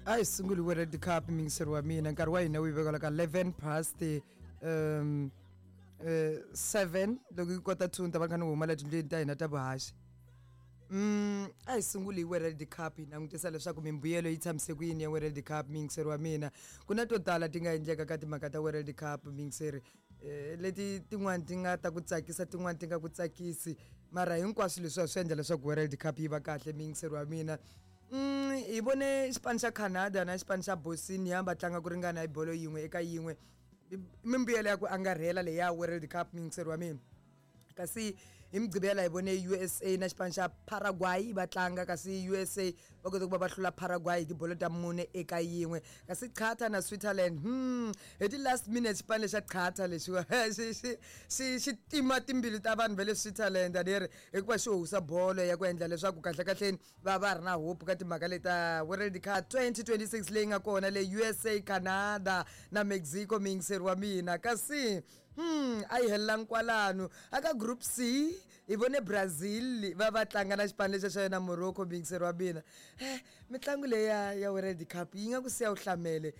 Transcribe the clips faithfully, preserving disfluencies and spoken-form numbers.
A hi sunguli World Cup, muyingiseri wa mina. Nkarhi wa hina wu yi vekela ka eleven past um eh seven. Loko yi kota two, ni ta va kha ni huma la tindlwini ta hina ta vuhaxi. Mm, a hi sunguli hi World Cup, hi langutisa leswaku mimbuyelo yi tshamise ku yini ya World Cup, muyingiseri wa mina. Ku na to tala ti nga endleka ka timhaka ta World Cup, muyingiseri, eh, leti tin'wani ti nga ta ku tsakisa, tin'wani ti nga ku tsakisi, mara hinkwaswo leswiwa swi endla leswaku World Cup yi va kahle, muyingiseri wa mina. Mm, hi vone xipano xa Canada na xipano xa Bosnia va tlanga ku ringana hi bolo yin'we eka yin'we, mimbuyelo ya ku angarhela leya World Cup, muyingiseri wa mina. Kasi hi Mugqivela hi vone U S A na xipano xa Paraguay va tlanga, kasi U S A va kota ku va va hlula Paraguay hi tibolo ta mune eka yin'we. Kasi Qatar na Switzerland, hmm hi ti-last minute xipano lexa Qatar lexiwa xi xi xi xi tima timbilu ta vanhu va le Switzerland, a ni ri, hikuva xi howisa bolo ya ku endla leswaku kahle kahleni va va ri na hope ka timhaka leta World Cup twenty twenty-six leyi nga kona le U S A, Canada na Mexico, muyingiseri wa mina. Kasi hmm a yi helelangi kwalano. Aka Group C hi vone Brazil va va tlanga na xipano lexa xa yona Morocco, muyingiseri wa mina. eh mitlangu leyi ya ya World Cup yi nga ku siya u hlamele.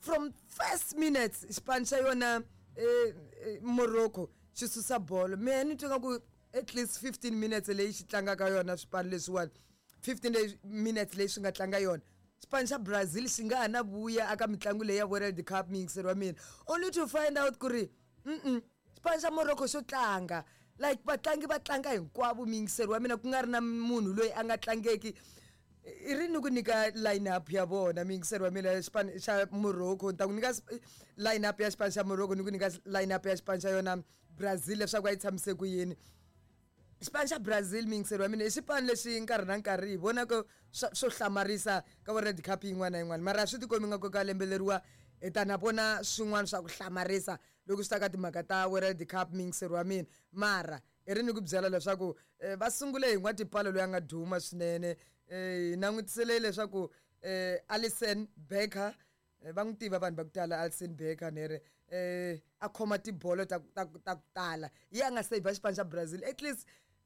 From first minutes xipano xa yona eh, eh, Morocco xi susa bolo. Mehe ni twa nga ku at least fifteen minutes leyi xi tlangaka yona swipano leswiwani, fifteen minutes leyi swi nga tlanga yona, xipano xa Brazil xi nga ha na vuya aka mitlangu leyi ya World Cup, muyingiseri wa mina, only to find out ku ri mm xipano xa Morocco xo tlanga like vatlangi va tlanga hinkwavo, muyingiseri wa mina, ku nga ri na munhu loyi a nga tlangeki. I ri ni ku nyika line up ya vona, muyingiseri wa mina, xipano xa Morocco. Ni ta ku nyika line up ya xipano xa Morocco, ni ku nyika line up ya xipano xa yona Brazil leswaku a yi tshamise ku yini. Xipano xa Brazil, muyingiseri wa mina, i xipano lexi nkarhi na nkarhi hi vonaka swo hlamarisa ka World Cup yin'wana na yin'wana, mara swi tikombi nga ku ka lembe leriwa hi ta na vona swin'wana swa ku hlamarisa loko swi ta ka timhaka ta World Cup, muyingiseri wa mina. Mara i ri ni ku byela leswaku eh, va sungule hi n'watipalo loyi a nga duma swinene. um hi langutisele leswaku um Alisson Becker, va n'wi tiva vanhu va ku tala Alisson Becker, ni ri um a khoma tibolo ta ta ta ku tala, yi a nga save xipano xa Brazil at least.